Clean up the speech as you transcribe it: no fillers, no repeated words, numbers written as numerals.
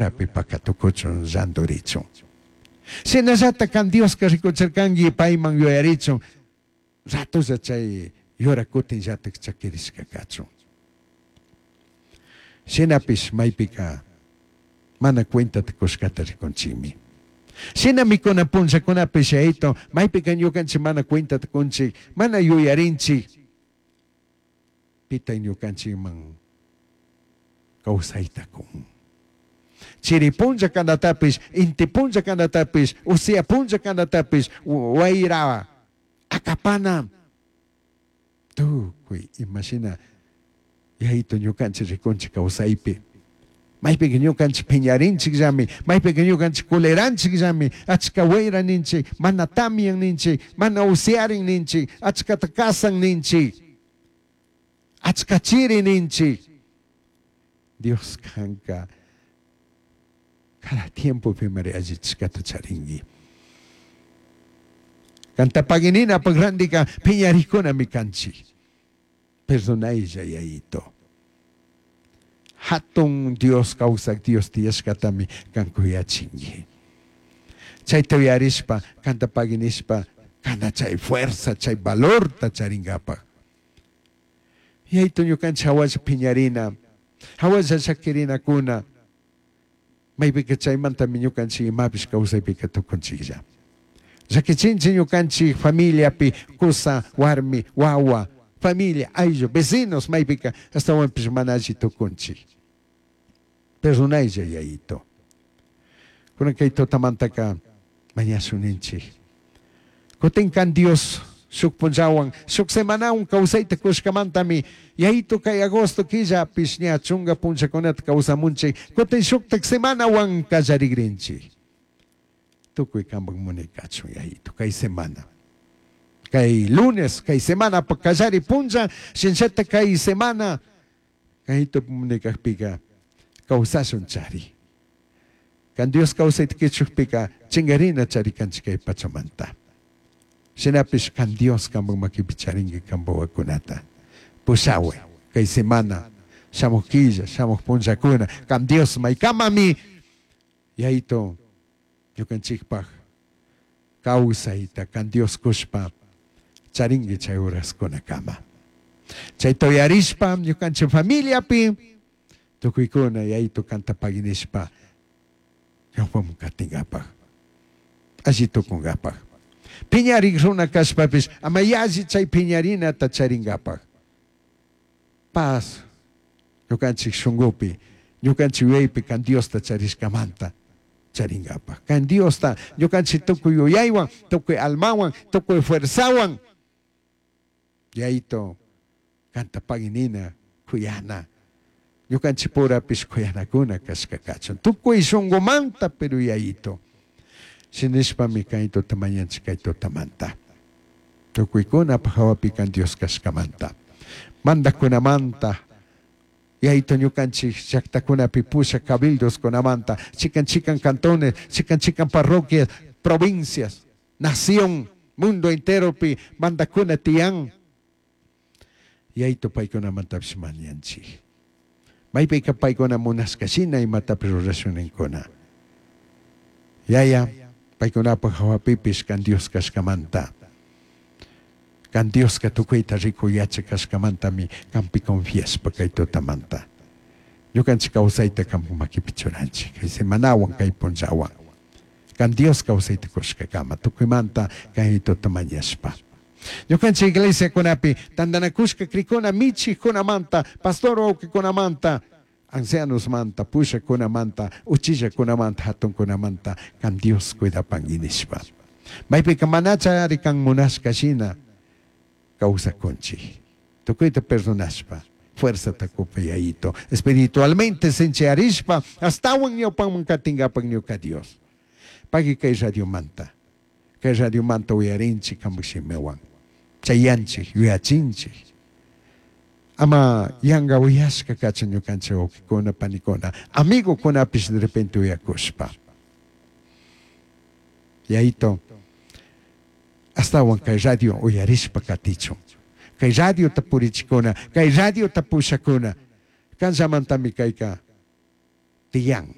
yurapi pacatucuchun llandurichun. Shinallata can Diosca ricuchircangui paiman yuyarichun ratolla chay yura cutinllataj chaquirishca cachun. Shinapish maipica mana cuentata cushcata ricunchikmi. Shinami kunan punllakunapish Yayito maypica ñukanchik mana cuentata kunchik, mana yuyarinchik, pita ñukanchikman kawsayta kun. Chiri punlla kanatapish, inti punlla kanatapish, usia punlla kanatapish, wayra akapana tukuy imashina Yayito ñukanchik rikunchik kawsaypi. Maypika ñukanchik piñarinchikllami, maypika ñukanchik culeranchikllami, achka wayra ninchik, mana tamyan ninchik, mana usiarin ninchik, achkata kasan ninchik, achka chiri ninchik. Dios kanka cada tiempopimari allichishkata charinki. Kanta pagininapak randika piñarikunami kanchik. Perdonaylla Yayito. Hatun Dios kawsak Dios tiyashkatami kan kuyachinki. Chayta uyarishpa, kanta paginishpa, kana chay fuerza, chay valorta charinkapak. Yayito ñukanchik hawalla piñarina, hawalla llakirinakuna, maypika chaymantami ñukanchik imapish kawsaypika tukunchiklla. Llakichinchik ñukanchik familiapi kusa, warmi, wawa, familia, ayllu, vecinos maypika ashtawanpish mana alli tukunchik. Perdonaylla Yayito. Kunan kay tutamantaka mañashun ninchik. Kutin kan Dios shuk punllawan, shuk semanawan kawsayta kushkamantami Yayito kay agosto killapish ña chunga punllakunata kawsamunchik, kutin shuktak semanawan kallarigrinchik. Tukuy kanpak munay kachun Yayito kay semana. Kay lunes, kay semanapak kallari punlla, shinllata kay semana Yayito munay kakpika kawsashun chari. Kan Dios kawsayta kichukpika chingarina chari kanchik kay pachamanta. Shinapish kan Dios kanpak makipi charinki kanpak wawakunata. Pushawi kay semana, shamuk killa, shamuk punllakuna, kan Dios maykamami Yayito ñukanchikpak kawsayta kan Dios kushpa charinki chay horaskunakama. Chayta uyarishpa ñukanchik familiapi tukuykuna Yayito kanta paginishpa ñawpaman katinkapak, alli tukunkapak. Piñarik runa kashpapish ama yalli chay piñarinata charinkapak. Paz ñukanchik shunkupi, ñukanchik yuyaypi kan Diosta charishkamanta charinkapak. Kan Diosta ñukanchik tukuy yuyaywan, tukuy almawan, tukuy fuerzawan Yayito kanta paginina, kuyana, ñukanchik purapish kuyanakuna kashka kachun. Tukuy shunkumanta, pero Yayito. Shinishpami kay tuta mañanchik kay tutamanta. Tukuykunapak hawapi kan Dios kashkamanta. Mandakkunamanta, Yayito ñukanchik llaktakunapi pushak cabildoskunamanta, chikan chikan cantones, chikan chikan parroquias, provincias, nación, mundo enteropi mandakuna tiyan. Yayito paykunamantapish mañanchik. Maypika paykuna munashka shina imatapish rurashun ninkuna. Yaya, paykunapak hawapipish kan Dios kashkamanta. Kan Dioska tukuyta rikuy yachak kashkamantami kanpi confiashpa kay tutamanta. Ñukanchik kawsayta kanpak makipi churanchik, kay semanawan, kay punllawan. Kan Dios kawsayta kushkakama tukuymanta kay tuta mañashpa. Ñukanchik iglesiakunapi tantanakushka crikuna michikkunamanta, pastor wawkikunamanta, ancianosmanta, pushakunamanta, uchillakunamanta, hatunkunamanta kan Dios cuidapanki nishpa. Maypika manacha ari kan munashka shina kawsakunchik. Tukuyta perdonashpa, fuerzata kupa Yayito, espiritualmente sinchiyarishpa, ashtawan ñawpanman katinkapak ñuka Dios. Pagui kay radiomanta, kay radiomanta uyarinchik kanpak shimiwan, chayanchik, yuyachinchik. Ama yanga uyashka kachun ñukanchik wawkikuna, panikuna, amigokunapish de repente uyakushpa. Yayito, ashtawan kay radio uyarishpa katichun. Kay radiota purichikuna, kay radiota pushakuna, kanllamantami kayka tiyan.